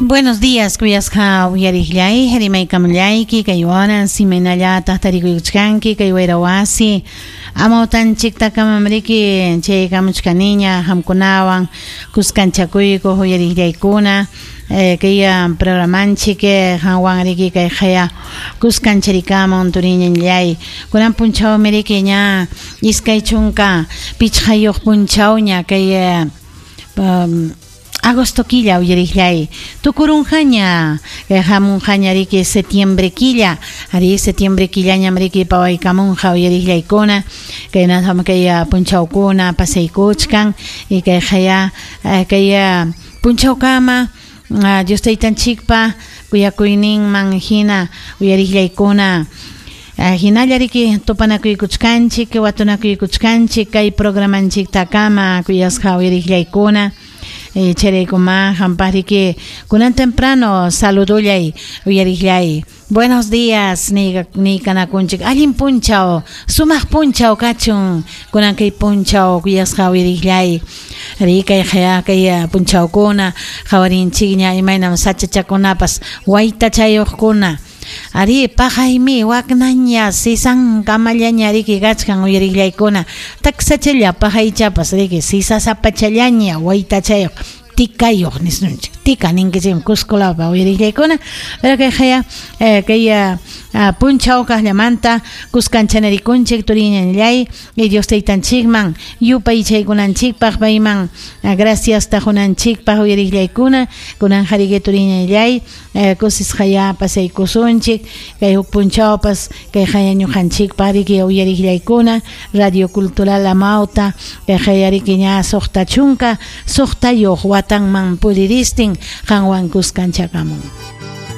Buenos días, kuyasqa uyariqllay, rimaykamullayki, kay waran simaynallataq tarikuykuchkanki, kay wayra wasi amawtanchiktakamamriki chaykamuchkaniña qamkunawan kuskanchakuykuq uyariqllaykuna kay programanchik qanwan riki kay qaya kuskancharikamun turiñallay kunan punchawmi riki ña 25 punchawña kay agosto killa uyariqllay tukurunqaña hamunqaña riki septiembre killa ari septiembre killañam riki pawaykamunqa uyariqllaykuna kaynatam kay punchawkuna pasaykuchkan y kay qaya kay punchawkama Dios taytanchikpa kuyakuyninman hina uyariqllaykuna hinalla riki tupanakuykuchkanchik watunakuykuchkanchik kay programanchiktakama kuyasqa uyariqllaykuna chayraykuma qampaq riki kunan temprano saludullay uyariqllay buenos días niykanakunchik allin punchaw sumaq punchaw kachun kunan kay punchaw kuyasqa uyariqllay ri kay kay punchawkuna qawarinchikña imaynam sachachakunapas waytachayuqkuna ari paqaymi waknaña sisankamallaña riki kachkan uyariqllaykuna taksachalla paqaychapas riki sisasapachallaña waytachayuq tikayuq nisunchik tika ninkichikmi Cusco lawpa uyariqllaykuna pero kay qaya kay punchaw kaqllamanta kuskanchanarikunchik turiñallay y Dios taytanchikman yupaychaykunanchikpaq payman graciasta qunanchikpaq uyariqllaykuna kunan qariki turiñallay kusisqaya pasaykusunchik kay huk punchawpas kay qaya ñuqanchikpaq riki uyariqllaykuna Radio Cultural Amauta kay qaya riki ña 66 watanman puriristin qanwan kuskanchakamun.